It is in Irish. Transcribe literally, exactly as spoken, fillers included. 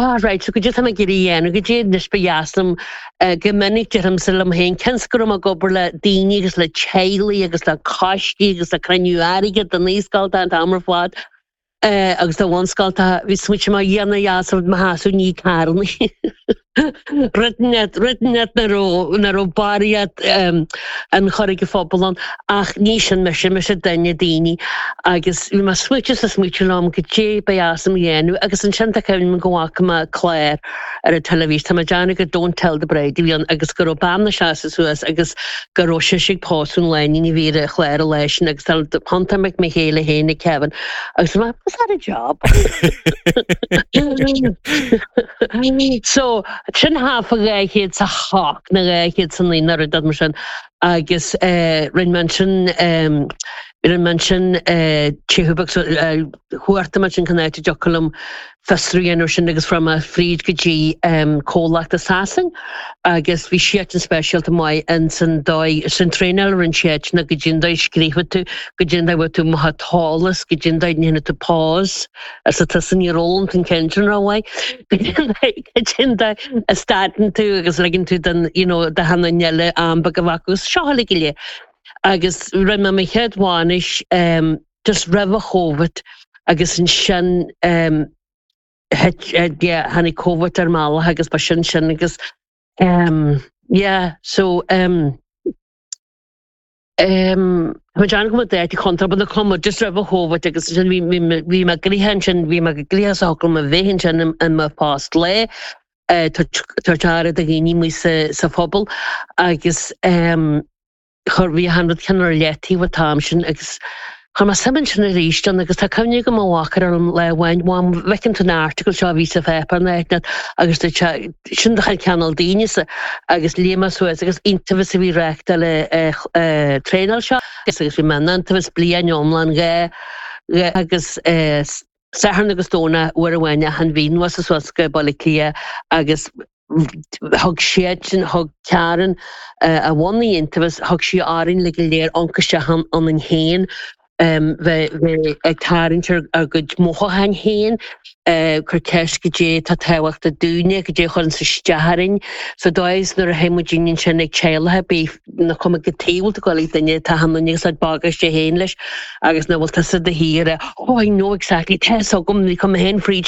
Ah right, so goidé tá mé ag iarraidh a dhéanamh, goidé anois ba dheas liom eh, go minic deirimse liom féin cionn is go raibh mé ag obair le daoine agus le teaghlaigh agus le coistí agus le cruinniú airgid do naíscoil an t-am ar fad eh, agus do bhunscoil bhí smaointe mé dhéanamh dheas mo sheasamh ní carnaí. Rud rud net na raibh na raibh barraíocht um, an chur ag an phobal ann ach ní sin mise mise duine daoine agus bhí mé smaointe sa smaointe liom goidé ba dheas liom a dhéanamh agus ansin tá cuimhne go bhfaca mé clár ar an teilifís tá mé ag déanamh go Don't Tell the Bride a bhí ann agus go raibh bean ina seasamh suas agus go raibh sise ag pósadh an lánúin a bhí ar an chlár an lá sin agus thiontaigh mé mo chéile féin ag Kevin agus mé was that a job? So sin hafa dhá chéad sa hocht nó dhá chéad sa naoi nó rud mar sin agus eh, rinne mé ansin um, rinne mé ansin eh, tithe so eh, chuartaigh mé ansin cén áit a dtiocfadh liom fiosrú a dhéanamh sin agus fuair mé fríd go dtí um, comhlacht i Sasain agus bhí siad an speisialta maith in san dóigh san traenáil rinne siad na goidé an dóigh scríobhann tú goidé an dóigh bhfuil tú mo eolas goidé an dóigh ndéanann tú pause as atá san ní roll an ceann sin rómhaith goidé an dóigh a stadann tú agus ligeann tú den you know, do na daoine eile am beag a bheith agus seo uilig go léir. Agus rinne mé mo chéad bhainis um, just roimh an Covid agus ansin um, hit uh, yeah, tháinig Covid ar mbealach agus ba sin sin agus um, yeah, so um, um, Tá dean go dé chontra na cuma just roimh an Covid agus sin bhí bhí mé gnoitheach ansin bhí mé gnoitheach sa me bhéhann sin in mo phost lae tabhairt aire do dhaoine mu sa sa phobal agus um, chur bhí an rud ceann ar leataobh an t-am sin agus Chuir mé suim ansin arís ann agus tá cuimhne agam mo mháthair orm lá amháin Mham bhfeiceann tú an article seo a bhí sa pháipéar na net agus dúirt sé sin do chuid cineál daoine sa agus léigh mé suas agus Iontaobhas a bhí reáchtáil traenáil seo agus bhí mé in Iontaobhas bliain iomlán dhá dhá agus Satharn agus Domhnach uair amháin achan mhí anuas suas go Baile Átha Cliath agus thug siad sin thug Karen a bhunaigh Iontaobhas thug sí orainn le go léir ionchas isteach ionainn féin um, bheith bheith ag tarraingt ar ar gcuid mothúcháin féin, uh, cur ceist goidé tá tábhachtach dúinne, goidé a chuireann isteach orainn. So dóigh nuair a théann muid ansin ag teaghlaigh bí na cuma go taobh go bhfuil duine tá an agus ag bagáiste féin leis agus na bhfuil tusa de shíor oh I know exactly tá agam ní cum féin fríd